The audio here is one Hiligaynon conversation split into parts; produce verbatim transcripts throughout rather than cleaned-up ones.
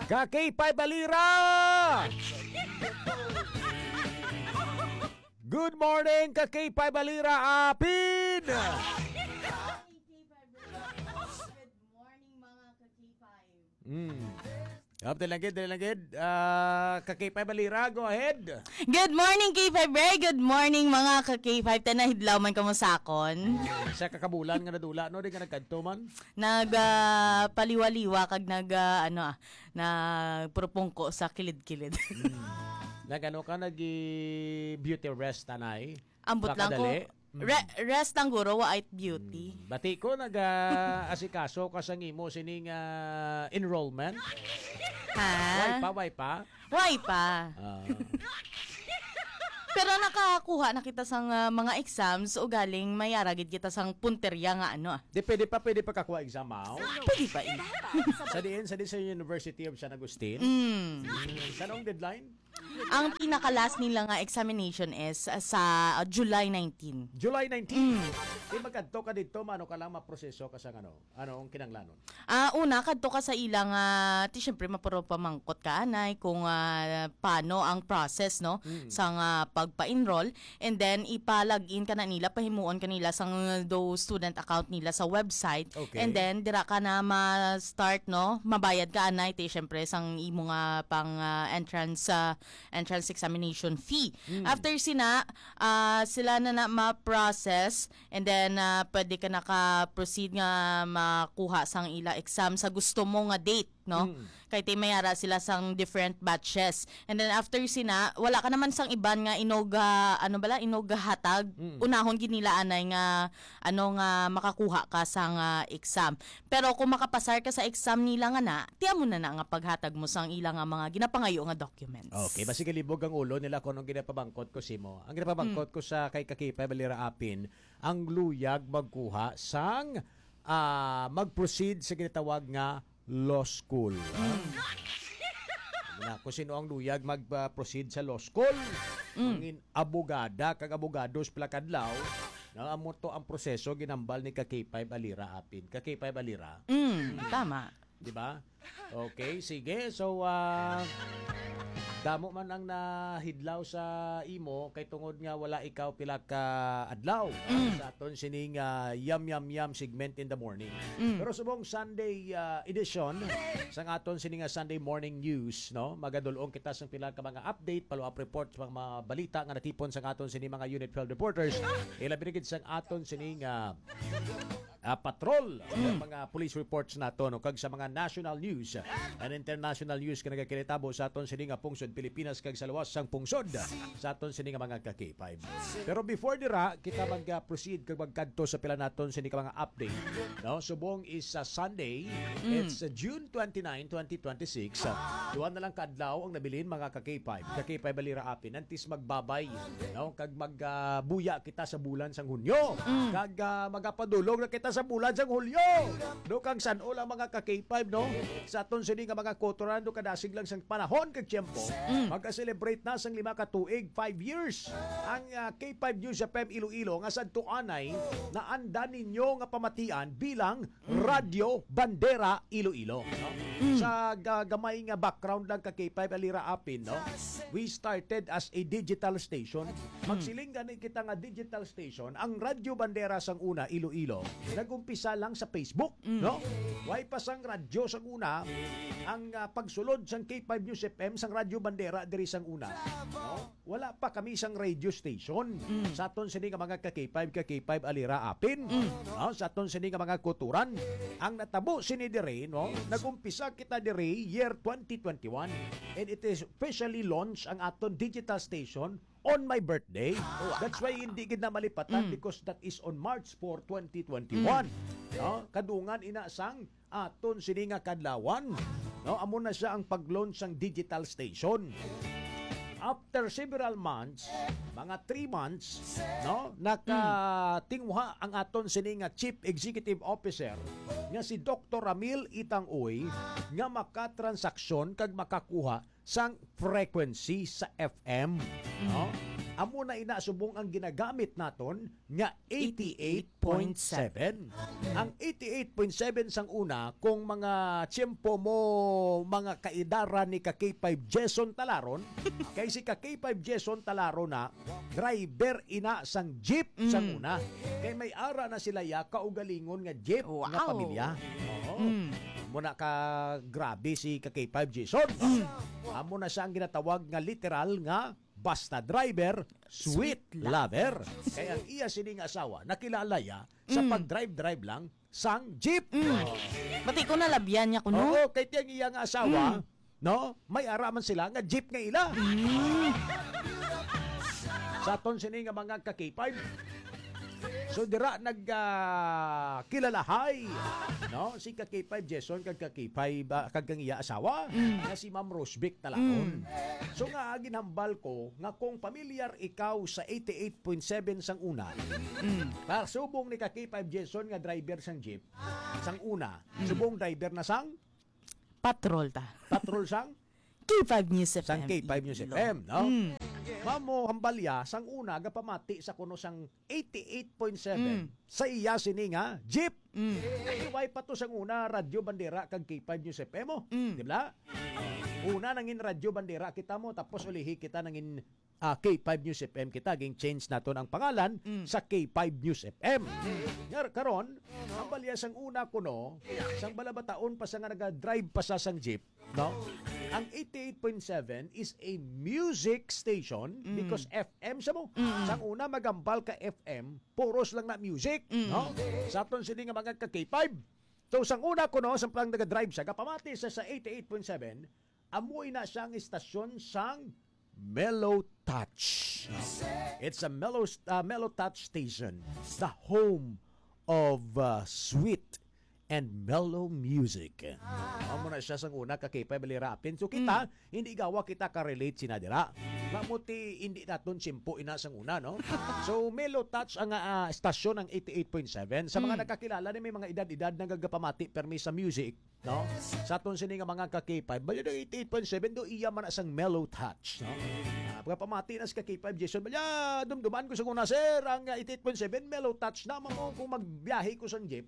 Ka K five Balira! Good morning, ka K five Balira Apin! Good morning, mga ka K five. Mm. Up, dali lang gid, dali lang gid. Ah, ka K five Balira, go ahead. Good morning, K five Ray. Good morning, mga ka K five. Tanahidlaw man kamo sa akon. Sa kakabulan nga nadula, no? Di ka nagkadto man? Nag, ah, paliwa-liwa kag nag, ah, ano, ah, nagpurupungko sa kilid-kilid. Mm. Nag-ano ka, nag-beauty rest, anay? Ambot lang ko. Pakadali. Mm. Re-, rest lang, guro, wa it beauty. Mm. Bati ko, nag, ah, asikaso ka sa ngimo sining, ah, enrollment? Ha? Way pa, way pa? Way pa. Ah. Pero nakakuha na kita sang, ah, mga exams, ugaling may ara gid kita sang punterya nga ano, ah. Di, pwede pa, pwede pa kakuha exam, aw? Pwede pa, eh. Sa diin, sa diin sa University of San Agustin? Mm. Mm. Kanong deadline? Ang pinaka-last nila nga examination is, ah, sa, ah, July nineteen. July nineteen. Mm. Di magkadto ka dito, mano ka lang maproseso ka sa ano, ano ang kinanglanon? Ah, una, kadto ka sa ila nga, ti, syempre, mapuro pamangkot ka, anay, kung, ah, paano ang process, no, Mm. sa nga pagpa-enroll. And then, ipa-log in ka na nila, pahimuon ka nila sang do student account nila sa website. Okay. And then, dira ka na ma-start, no, mabayad ka, anay, ti, syempre, sang imo nga pang, ah, entrance, ah, entrance examination fee. Mm. After sina, ah, sila na na ma-process, and then, ah, pwede ka naka-proceed nga makuha sang ila exam sa gusto mo nga date, no? Mm. Kay ti may ara sila sang different batches. And then after sina, wala ka naman sang iban nga inog, ah, ano bala, inog hatag. Mm. Unahon gid nila anay nga, ano, nga makakuha ka sang, ah, exam. Pero kung makapasar ka sa exam nila nga na, ti amo na na nga paghatag mo sang ila nga mga ginapangayo nga documents. Okay, basi galibog ang ulo nila kung anong ginapabangkot ko simo. Ang ginapabangkot Mm. ko sa kay ka K five Balira Apin, ang luyag magkuha sang, ah, mag-proceed sa ginatawag nga law school. Ah. Mm. Na, kung sino ang luyag mag, ah, proceed sa law school, Mm. mangin abogada kag abogados pila kadlaw, na amo to ang proseso ginambal ni ka K five Alira Apin. Ka K five Alira. Mm, tama. Di ba? Okay, sige. So, ah, damo man ang nahidlaw sa imo kay tungod nga wala ikaw pila ka adlaw, ah, Mm. sa aton sining, ah, Yam Yam Yam segment in the morning. Mm. Pero subong Sunday, ah, edition sang aton sini nga Sunday morning news, no? Magadulong kita sang pila ka mga update, follow-up report sa mga balita nga natipon sang aton sini mga Unit twelve reporters. Ilabi na gid sang aton sini nga ah, patrol, Mm. ang mga police reports nato, no, kag sa mga national news and international news nga nagakinitabo sa aton sini nga pungsod Pilipinas kag sa luwas sang pungsod sa aton sini nga mga ka K five. Pero before dira, kita mag, ah, proceed kag magkadto sa pila naton sini ka mga update, no? Subong is sa Sunday, Mm. it's, uh, June twenty-nine, twenty twenty-six. Uh, duha na lang ka adlaw ang nabilin, mga ka K five. Ka K five Balira Apin, antes magbabay, no? Kag mag, ah, buya kita sa bulan sang Hunyo. Mm. Kag, ah, magapadulong na kita sa bulan sang Hulyo. No, kag san-o lang, mga ka K five, no? Sa aton sini nga mga kotoran, no, kadasig lang sang panahon kag tiyempo, Mm. mag-celebrate na sang lima ka tuig, five years, ang, ah, K five News F M Iloilo nga sadto anay naanda ninyo nga pamatian bilang Mm. Radyo Bandera Iloilo, no? Mm. Sa ga-, gamay nga background lang ka K five Alira Apin, no? We started as a digital station. Mm. Magsiling gani kita nga digital station, ang Radyo Bandera sang una, Iloilo, nag-umpisa lang sa Facebook, Mm. no? Way pa sang radyo sang una, ang, ah, pagsulod sang K five News F M sang Radyo Bandera diri sang una, no? Wala pa kami sang radio station. Mm. Sa aton sini nga mga ka K five, ka K five Alira Apin. Mm. No? Sa aton sini nga mga kuturan. Ang natabo sini diri, no? Nag-umpisa kita diri year twenty twenty-one. And it is officially launched ang aton digital station on my birthday. Wow. That's why hindi gid na malipatan Mm. because that is on March four, twenty twenty-one. Mm. No? Kadungan ina sang aton sini nga kadlawan. No, amo na siya ang pag-launch sang digital station. After several months, mga three months, no, nakatinguha ang aton sini nga Chief Executive Officer nga si Doktor Ramil Itang Uy nga makatransaksyon kag makakuha sang frequency sa F M, Mm. no? Amo na ina subong ang ginagamit naton nga eighty-eight point seven. Ang eighty-eight point seven sang una, kung mga tiyempo mo, mga kaidara ni ka K five Jason Talaron, kay si ka K five Jason Talaron na driver ina sang jeep sang Mm. una. Kay may ara na sila ya kaugalingon nga jeep nga Wow. pamilya. Oo. Mm. Amo na ka grabe si ka K five Jason. Mm. Amo na siya ang ginatawag nga literal nga basta driver, sweet Sweet lover. lover. Kay ang iya sini nga asawa, nakilala ya sa Mm. pag-drive-drive lang sang jeep. Mm. Pati ko nalabyan niya kuno. Oo, kay tiyang iya nga asawa, Mm. no? May ara man sila nga jeep nga ila. Mm. Sa aton sini nga mga ka K five. So dira nag ah, kilalahay, no? Si ka K five Jason kag ka K five, ah, kag kang iya asawa Mm. nga si Ma'am Rosvic Talaon. Mm. So nga ginhambal ko nga kung pamilyar ikaw sa eighty-eight point seven sang una, Mm. para subong ni ka K five Jason nga driver sang jeep, sang una, Mm. subong driver na sang Patrol ta. Patrol sang? K five News Sang F M. K five News Iloilo. F M, no? Mm. Mamo, hambalya, sang una, gapamati sa kuno sang eighty-eight point seven Mm. sa iya sini nga jeep. Mm. Kay way pa to sang una, Radyo Bandera kag K five News F M, oh. Mm. Di ba? Una nangin Radyo Bandera kita mo, tapos ulihi kita nangin ah, K five News F M kita, ging-change naton ang pangalan Mm. sa K five News F M. Ngar karon, ang balya sang una kuno, sang balabataon pa sa nga naga-drive pa sa sang jeep, no? Ang eighty-eight point seven is a music station Mm. because F M siya mo. Mm. Sang una, magambal ka F M, puros lang na music, Mm. no? Sa aton sini nga mga ka K five. So, sang una kuno, sa pang naga-drive siya, gapamati sa, sa eighty-eight point seven, amo ina siya ang istasyon sang Mellow Touch. It's a mellow, uh, Mellow Touch station, the home of uh, sweet and mellow music. Amo na siya sang una ka K five Balirapin. So kita, Mm. hindi gawa kita ka-relate sina dira. Mamuti hindi naton simpo ina sang una, no? So Mellow Touch ang ah, stasyon ang eighty-eight point seven. Sa mga Mm. nakakilala ni may mga edad-edad na gagapamati permi sa music, no? Sa aton sini nga mga ka K five, bali daw eighty-eight point seven do iya man na sang Mellow Touch, no? Ah, pagpamati na sa ka K five Jason, bali, ah, dumduman ko sa una, sir, ang ah, eighty-eight point seven Mellow Touch na mo kung magbiyahe ko sa jeep.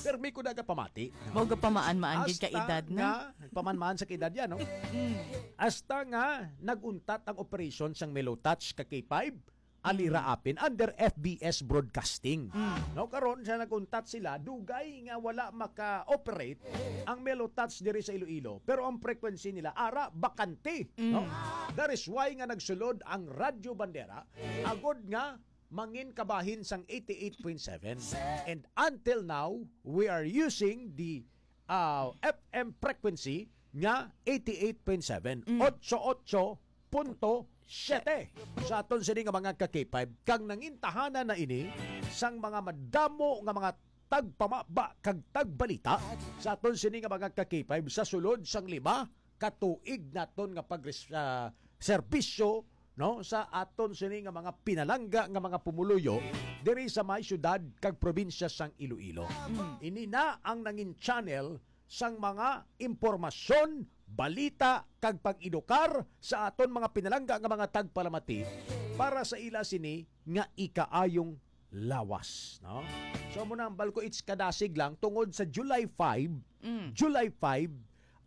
Permi ko daga pamati. Mao ga pamaan-maan gid ka Hasta edad na. nga, pamaan-maan sa edad yan, no? Mm. Hasta nga nag-untat ang operasyon sang Mellow Touch ka K five, Alira Mm. Apin under F B S Broadcasting. Mm. No, karon sa nag-untat sila, dugay nga wala maka-operate ang Mellow Touch diri sa Iloilo, pero ang frequency nila ara bakante, Mm. no? That is why nga nagsulod ang Radyo Bandera agod nga mangin kabahin sang eighty-eight point seven. And until now, we are using the ah, F M frequency nga eighty-eight point seven, Mm. otso otso punto siyete. Sa aton sini nga mga ka K five, kang nangintahanan na ini sang mga madamo nga mga tagpamaba kag tagbalita sa aton sini nga mga ka K five sa sulod sang lima ka tuig naton nga pagres-, ah, serbisyo, no, sa aton sini nga mga pinalangga nga mga pumuluyo diri sa may siyudad kag probinsya sang Iloilo. Mm. Ini na ang nangin channel sang mga impormasyon, balita, kag pag-edukar sa aton mga pinalangga nga mga tagpalamati para sa ila sini nga ikaayong lawas, no? So, amo na ang balko, it's kadasig lang tungod sa July five, Mm. July five,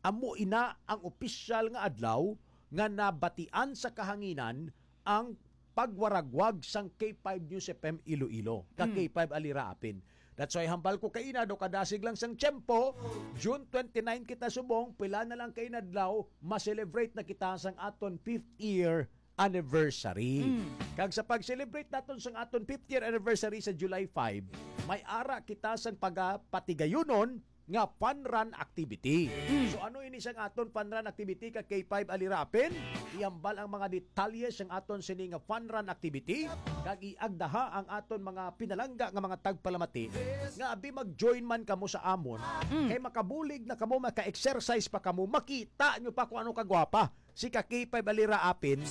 amo ina ang opisyal nga adlaw nga nabatian sa kahanginan ang pagwaragwag sang K five News F M Iloilo, ka Mm. K five Alira Apin. That's why hambal ko kaina, do kadasig lang sang tiyempo, June twenty-nine kita subong, pila na lang kaina adlaw, ma-celebrate na kita sang aton fifth year anniversary. Mm. Kag sa pag-celebrate naton sang aton fifth year anniversary sa July five, may ara kita sang pagapatigayunon nga fun run activity. Mm. So ano ini sang aton fun run activity ka K five Alira Apin? Ihambal ang mga detalye sang aton sini nga fun run activity kag iagdaha ang aton mga pinalangga nga mga tagpalamati nga abi mag-join man kamo sa amon Mm. kay makabulig na kamo, maka-exercise pa kamo, makita nyo pa kung ano kagwapa si ka K five Alira Apin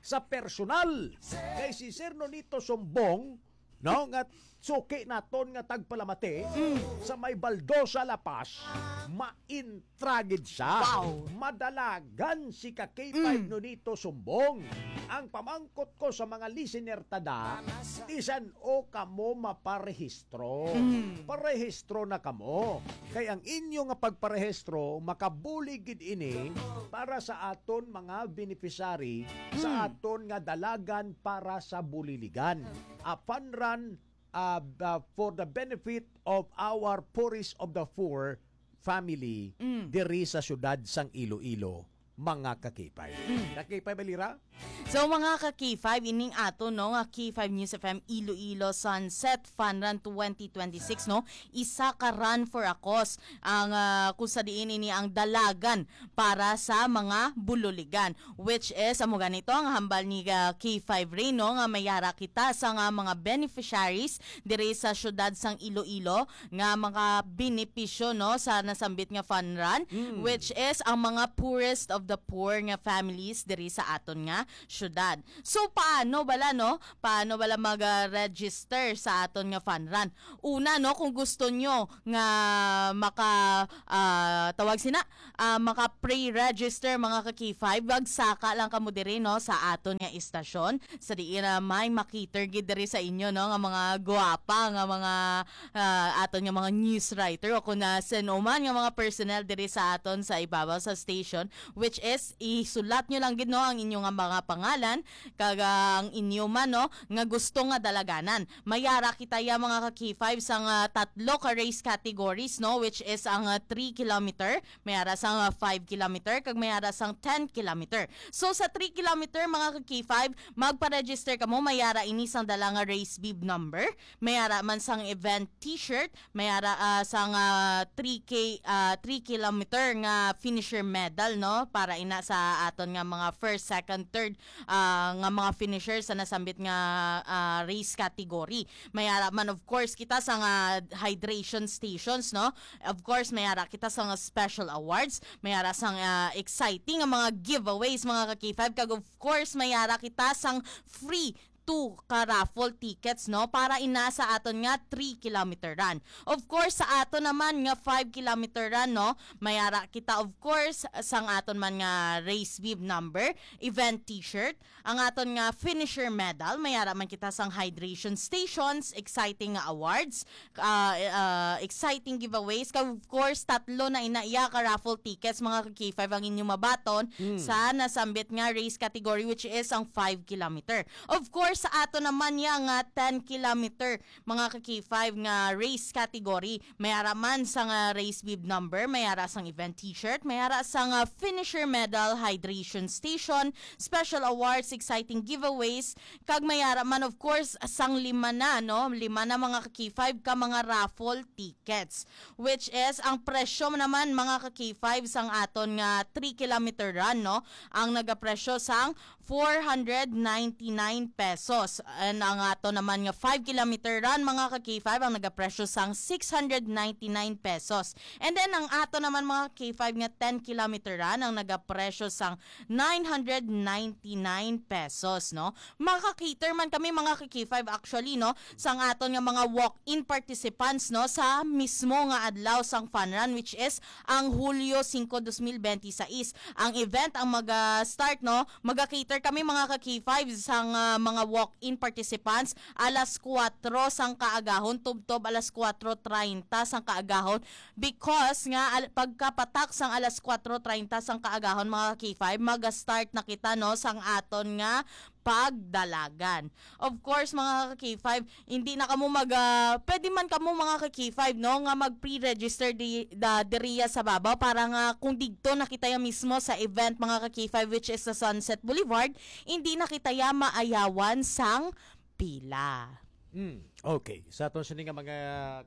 sa personal. Kay si Sir Nonito Sumbong, no, nga suki naton nga tagpalamati Mm. sa may Baldosa, La Paz, maintragid siya. Wow. Madalagan si ka K five Mm. Nonito Sumbong. Ang pamangkot ko sa mga listener tada, bisan o kamo maparehistro. Mm. Parehistro na kamo. Kay ang inyo nga pagparehistro, makabulig gid ini para sa aton mga beneficiary, sa Mm. aton nga dalagan para sa buliligan. A fun run, ah, ah, for the benefit of our poorest of the poor family Mm. diri sa siyudad sang Iloilo, mga ka-K five. Mm. Ka-K five Alira? So, mga ka-K five, ining ato, no, nga K five News F M Iloilo Sunset Fun Run twenty twenty-six, no? Isa ka run for a cause. Ang, ah, kung sa diin ini ang dalagan para sa mga bululigan, which is, amo ganito ang hambal ni, ah, K five Ray, no, nga mayara kita sa nga mga beneficiaries diri sa siyudad sang Iloilo nga mga benepisyo, no, sa nasambit nga fun run, Mm. which is ang mga poorest of the poor nga families diri sa aton nga syudad. So, paano bala, no? Paano bala mag-register sa aton nga fun run? Una, no, kung gusto nyo nga maka, ah, tawag sina, ah, maka-pre-register, mga ka-K five, magsaka lang kamo diri, no, sa aton nga istasyon. Sa diin na may makiter gid diri sa inyo, no, nga mga gwapa nga mga, ah, aton nga mga news writer o kung na sino man nga mga personnel diri sa aton sa ibabaw sa station, which is isulat nyo lang gid, no, ang inyo nga mga pangalan kag ang inyo man, no, nga gusto nga dalaganan. Mayara kita ya, mga ka-K five, sang, ah, tatlo ka race categories, no, which is ang, ah, three kilometer, mayara sang, ah, five kilometer, kag mayara sang ten kilometer. So, sa three kilometer, mga ka-K five, magpa-register kamo, mayara ini sang dala nga race bib number, mayara man sang event t-shirt, mayara, ah, sang, ah, three K, ah, three kilometer nga finisher medal, no, para ina sa aton nga mga first, second, third, ah, nga mga finisher sa nasambit nga, ah, race category. Mayara man, of course, kita sa nga hydration stations, no? Of course, mayara kita sa nga special awards, mayara sang, ah, exciting nga mga giveaways, mga ka-K five, kag of course, mayara kita sang free two ka raffle tickets, no? Para ina sa aton nga three kilometer run. Of course, sa aton naman nga five kilometer run, no? Mayara kita, of course, sang aton man nga race bib number, event t-shirt, ang aton nga finisher medal, mayara man kita sang hydration stations, exciting nga awards, ah, ah, exciting giveaways. Kag of course, tatlo na ina iya ka raffle tickets, mga ka-K five, ang inyo mabaton Mm. sa nasambit nga race category, which is ang five kilometer. Of course, sa ato naman ya nga ten kilometer, mga ka-K five, nga race category, mayara man sang race bib number, mayara sang event t-shirt, mayara sang finisher medal, hydration station, special awards, exciting giveaways, kag mayara man, of course, sang lima na, no? Lima na, mga ka-K five, ka mga raffle tickets, which is ang presyo naman, mga ka-K five, sang aton nga three kilometer run, no? Ang nagapresyo sang four hundred ninety-nine pesos. And ang ato naman nga five kilometer run, mga ka-K five, ang nagapresyo sang six hundred ninety-nine pesos. And then, ang ato naman, mga K five, nga ten kilometer run, ang nagapresyo sang nine hundred ninety-nine pesos, no? Maka-cater man kami, mga ka-K five, actually, no, sang aton nga mga walk-in participants, no, sa mismo nga adlaw sang fun run, which is ang Hulyo singko, dos mil benti sais. Ang event ang maga-start, no, maga-cater kami, mga ka-K five, sang, ah, mga walk-in participants alas kuwatro sang kaagahon, tubtob alas kuwatro treinta sang kaagahon, because nga al-, pagkapatak sang alas kuwatro treinta sang kaagahon, mga ka-K five, maga-start na kita, no, sang aton nga pagdalagan. Of course, mga ka-K five, hindi na kamo mag, ah, pwede man kamo, mga ka-K five, no, nga mag-pre-register di, da, diriya sa babaw para nga kung digto na kita ya mismo sa event, mga ka-K five, which is sa Sunset Boulevard, hindi na kita ya maayawan sang pila. Mm, okay. Sa aton sini nga mga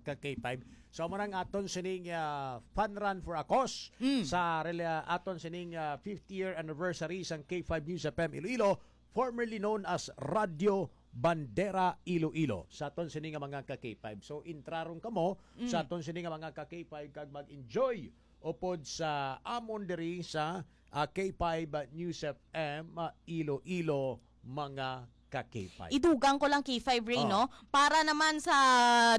ka-K five, so, amo nang aton sining, ah, fun run for a cause Mm. sa rela-, aton sining, ah, fifth year anniversary sang K five News F M Iloilo, formerly known as Radyo Bandera Iloilo. Sa aton sini nga mga ka-K five. So, intraron kamo Mm. sa aton sini nga mga ka-K five kag mag-enjoy upod sa amon diri sa, ah, K five News F M, ah, Iloilo, mga ka K five. Idugang ko lang K five Ray, Oh. no? Para naman sa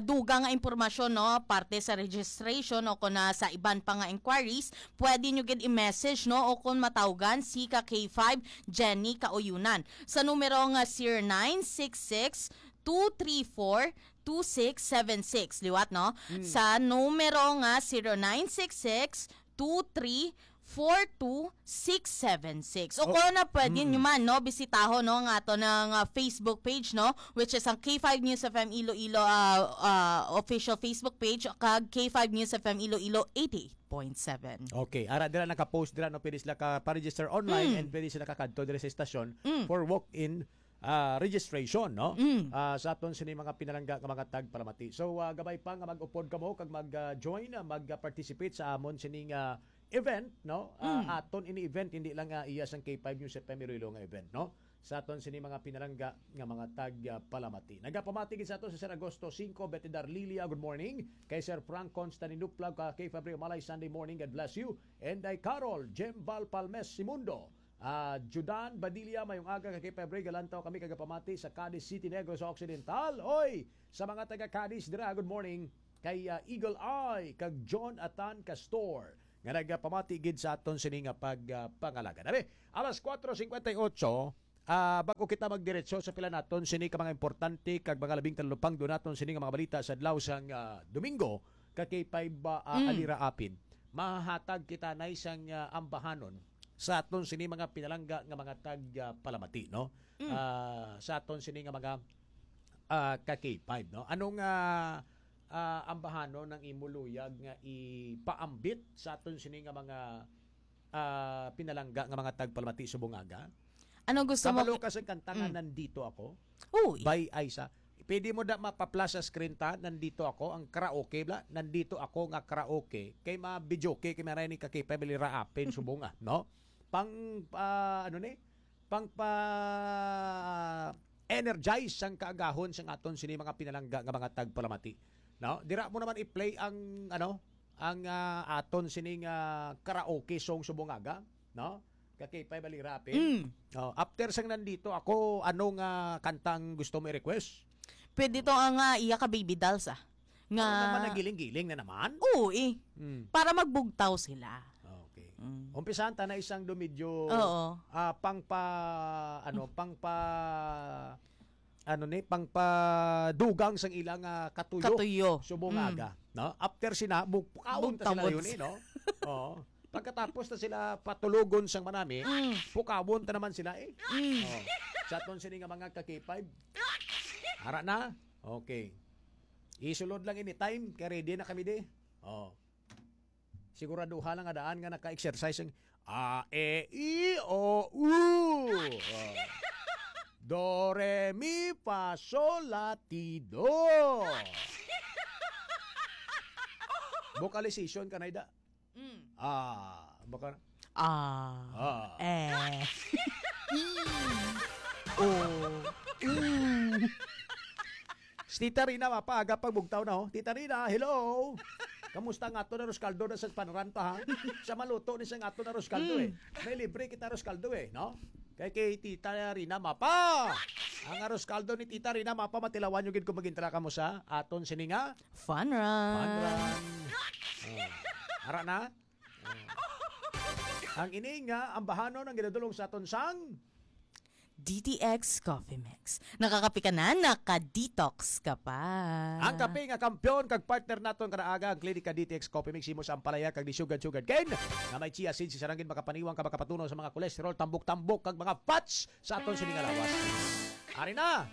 dugang nga impormasyon, no? Parte sa registration o kung na sa iban pa nga inquiries, pwede nyo gid i-message, no? O kung matawgan si ka K five Jenny Kauyunan sa numero nga zero nine six six two three four two six seven six. Liwat, no? Hmm. Sa numero nga zero nine six six two three four two six seven six. O Oh. kung na pwede Mm. nyo man, no, bisitaho, no, nga ato ng, ah, Facebook page, no, which is ang K five News F M Iloilo, ah, ah, official Facebook page, kag K five News F M Iloilo eighty-eight point seven. Okay, ara dira naka-post dira, no, pwede sila ka pa-register online Mm. and pwede sila kakadto dira sa estasyon Mm. for walk-in, ah, registration, no? Mm. Ah, sa aton sini mga pinalangga nga mga tagpalamati. So, ah, gabay pa nga mag-upod kamo kag mag, ah, join, ah, mag, ah, participate sa amon sining, ah, event, no? Ah, Mm. aton ini event, hindi lang, ah, iya sang K five News F M Iloilo nga event, no? Sa aton sini mga pinalangga nga mga tagpalamati. Nagapamati gid sa ato si Sir Agosto Cinco, Betty Darlilia, good morning. Kay Sir Frank Constantinopla, ka K five Ray Malay, Sunday morning, God bless you. And kay Carol Jembal Palmes Simundo, ah, Judan Badilla, mayong aga ka K five Ray, galantaw kami kagapamati sa Cadiz City, Negros Occidental. Oy, sa mga taga Cadiz dira, good morning. Kay, ah, Eagle Eye, kag John Atan Castor, nga nagapamati gid sa aton sini nga pag, ah, pangalaga. Dali, alas kuwatro singkwenta y ocho, ah, bago kita magdiretso sa pila naton sini ka mga importante kag mga labing talupangdo naton sini nga mga balita sa adlaw sang, ah, Domingo, ka K five, ah, Mm. Alira Apin. Mahatag kita na isang, ah, ambahanon sa aton sini mga pinalangga nga mga tag, ah, palamati, no? Mm. Ah, sa aton sini nga mga, ah, ka K five, no? Anong, ah, ah, ambahanon ang imo luyag nga ipaambit sa aton sini nga mga, ah, pinalangga nga mga tagpalamati subong aga? Ano gusto mo? Kabalo ka sa kanta nga Mm. Nandito Ako? Uy. By Aiza. Pwede mo da mapa-flash sa screen ta, Nandito Ako, ang karaoke bla, Nandito Ako nga karaoke. Kay ma-videoke, kay maray ni ka K five Alira Apin subong, ah, no? Pang, ah, ano ni? Pang pa-energize sang kaagahon sang aton sini mga pinalangga nga mga tagpalamati. No? Dira mo naman i-play ang, ano, ang, ah, aton sining, ah, karaoke song subong aga, no? Ka K five Alira Apin. Mm. Oh, after sang Nandito Ako, anong, ah, kantang gusto mo i-request? Pwede to ang, ah, iya ka Baby Dolls, ah. Nga Ano naman, nagiling-giling na naman? Oo, eh. Mm. Para magbugtaw sila. Okay. Mm. Umpisahan ta na isang do medyo, Oo. ah, pang pa, ano, pang pa, ano ni, pang padugang sang ilang, ah, katuyo. Katuyo. Subong Mm. aga, no? After sina, bu-, pukaon ta sila Bugtawon yun, eh, sila. no? Oo. Pagkatapos na sila patulogon sang manami, Mm. pukawon ta naman sila, eh. Mm. Oh. Sa aton sini nga mga ka K five. Ara na? Okay. Isulod lang anytime, kay ready na kami di. Oh. Siguraduha lang nga daan nga naka-exercise ang A, E, I, O, U. Oh. Do, re, mi, fa, sol, la, ti, do. Vocalization ka na, Ida. Mm. Ah, baka Ah. Ah. Eh. I. O. U. Si Tita Rina, mapaaga pag bugtaw na, oh. Tita Rina, hello. Kamusta nga ato na Roscaldo na sa Panran pa, ha? Sa maluto ni sa nga ato na Roscaldo, Mm. eh. May libre kita Roscaldo, eh, no? Kay, kay Tita Rina, mapa. Ang Roscaldo ni Tita Rina, mapa, matilawan nyo gid kung magintra ka mo sa aton sini nga Fun run. Fun run. Oh. Ara na? Oh. Ang ini nga ambahanon ang ginadulong sa aton sang D T X Coffee Mix. Nakakape ka na, naka-detox ka pa. Ang kape nga kampiyon kag partner naton kada aga, ang Klinika D T X Coffee Mix, himo sa ampalaya kag disugad-sugad ken nga may chia seeds, isa ra gid makapaniwang ka, makapatunaw sa mga cholesterol, tambok-tambok kag mga fats sa aton sini nga lawas. Ari na.